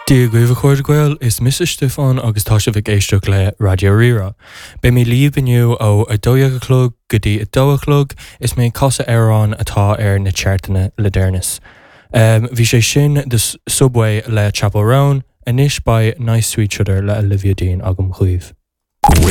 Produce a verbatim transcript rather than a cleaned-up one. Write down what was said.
Dia dhaoibh a chairde Gael is mise Stiofán agus tá sibh ag éisteacht le Raidió Rí-Rá. Beidh mé libh inniu ó a dó dhéag a chlog go dtí a dó a chlog is mé ag casadh amhráin atá ar na chartanna le deireanas. Um, bhí sé sin The Subway le Chappell Roan, anois beidh Nice to Each Other le Olivia Dean agam chugaibh.